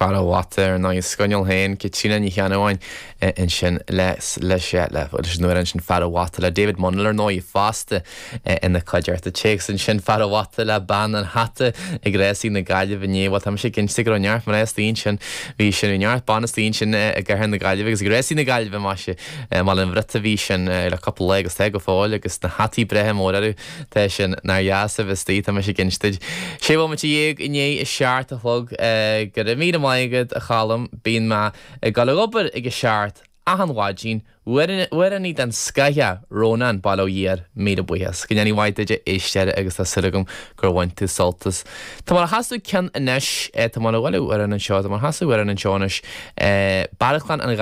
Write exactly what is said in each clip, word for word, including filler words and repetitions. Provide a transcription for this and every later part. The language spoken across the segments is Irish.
Fear an Bhata ar ndóigh scoinneal féin Caitríona Ní Cheannabháin ansin leis leis leis an amhrán sin Fear an Bhata le David Munel ar ndóigh fosta ina chuideachta téacs ansin Fear an Bhata le bean an hata ag rásaí na Gaillimhe inné bhuel tá sé cinnte go raibh neart mná istigh ansin bhí sin neart ban istigh ansin i gcathair na Gaillimhe agus ag rásaí na Gaillimhe mar sé mar an bhruta bhí sin le cúpla lá agus tá go fóill agus na hataí breithe mór tá sin nár dheas a bheith tá sé cinnte. Sé bhomaite dhéag i ndiaidh a seacht a chlog go raibh míle maith agat a Cholm bíonn mé ag dul ag obair ag a seacht achan mhaidin amhránaí den scoth Rónán Bail ó Dhia air míle buíochas. Go ndéanaí mhaith duit éisteir agus tá súil agam gur bhain tú sult as. Tá mar a chasadh ceann anois tá mar a bhfuil ar an anseo, tá mar chasadh ar an anseo anois Barrachán an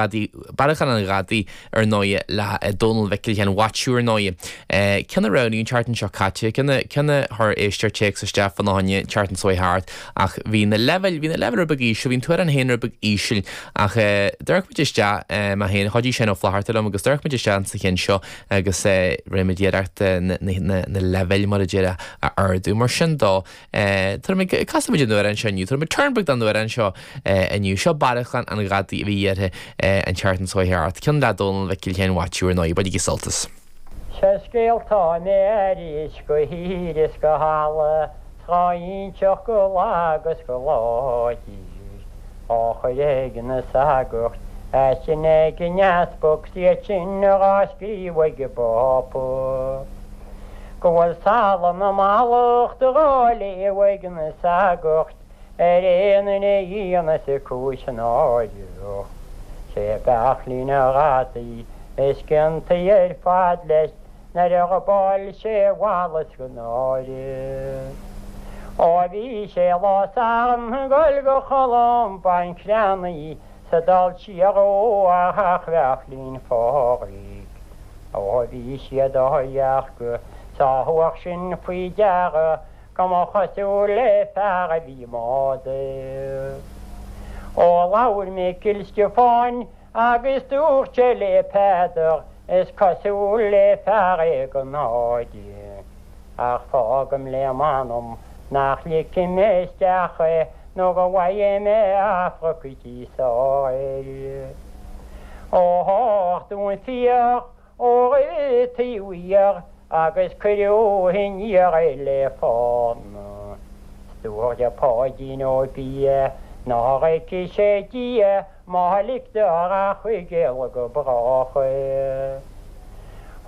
Barrachán an Ghadaí ar ndóigh le Dónal Mhicil Sheáin Mhaitiú ar ndóigh. Ceann a roghnaíodh an tseachtain seo caite, ceann a chuir éisteoir téacs isteach fána choinne an tseachtain seo thart ach bhí na leibhéil bhí na leibhéil rud beag íseal, bhí an t-amhrán féin rud beag íseal ach d'amharc muid isteach mé féin chuidigh Seán Ó Flatharta liom agus d'amharc muid isteach sa cheann seo agus rinne muid iarracht na leibhéil mar a déarfá a ardú mar sin dó Casfaimid an t-amhrán seo inniu, Tá turn beag den amhrán seo inniu seo Barrachán an Ghadaí a bhí iarrtha an tseachtain seo thart, ceann le Dónal Mhicil Sheáin Mhaitiú ar ndóigh, bainigí sult as. Se scéaltá mé arís go hír is go hala tráínseach go lágus go láidir á chuir ag na sagairt a sin ag an easpag siad sin á scríobh ag an bPápa. Go bhfuil salann na mallacht á léamh ag na sagairt ar aon duine a dhéanas cúis náireach. Sé Beachlín an Ghadaí is ciontaí ar fad leis nuair a ghabháil sé bhlas go náire. Ó bhí sé lá Sathairn goil go Cholm Creannaí sa dul siar ó a theach Bheachlín Phádraig. Ó bhí siad á dhearcadh sa thabhairt sin faoi deara go mba chosúil le fear a bhí máda. Ó labhair Micil Stiofáin agus dúirt sé le Peadar is cosúil le fear é go náide. Ach fágaim le m'anam nach ligfidh mé isteach é nó go bhfaighidh mé Afracaí sáir. Ó háchtún fiach ó taobh agus cuireadh aniar é le fána. Dúirt Páidín Ó Biadh nach bhfeicfidh sé Dia má ligtear a chuigéal go brách é.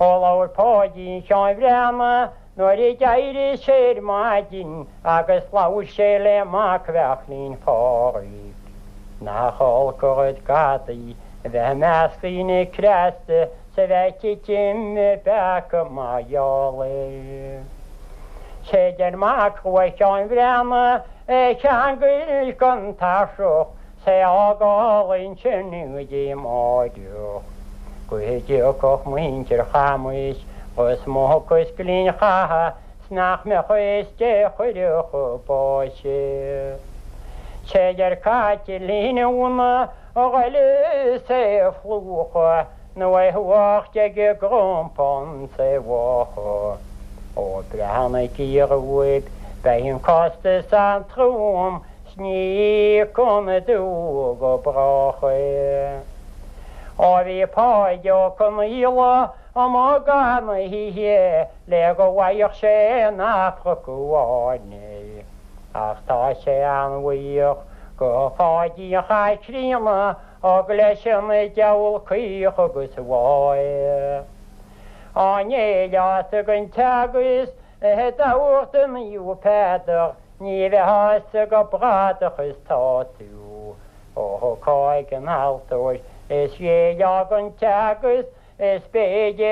Ó labhair Páidín Sheáin Bhreathnach nuair a d'éirigh sé ar maidin agus labhair sé le mac Bheachlín Phádraig. Nach olc an rud gadaí a bheith i measc daoine cneasta sa bheith ag titim i bpeaca mar gheall air. Sé deir mac Rua Sheáin Bhreathnach é cheangail den tairseach sé fhágáil ansin go dtí amárach. Go dtiocfadh muintir Chamais Ros Muc is Gleann Chatha 's nach mbeadh a fhios cé chuirfeadh chun báis é. Sé deir Caitlín Úna a ghoil is é a phlúchadh nó é thabhairt ag an gcompán 's é bháthadh. Ó breathnaigí romhaibh beidh an costas an-trom 's ní íocann an dúch go brách é. Ó bhí Páid Ó Conaola amuigh gan na hoíche le go bhfaigheadh sé an Afraic amháin. Ach tá sé an-bhuíoch go Pháidín Chaitríona thug leis an diabhal caoch agus bháe. Á néileása den teagasc a dtabhairt do Naomh Peadar ní bheifeása go bradach is tá tú. Ó thugthá ag an altóir is ghéilleá don teagasc is b'fhéidir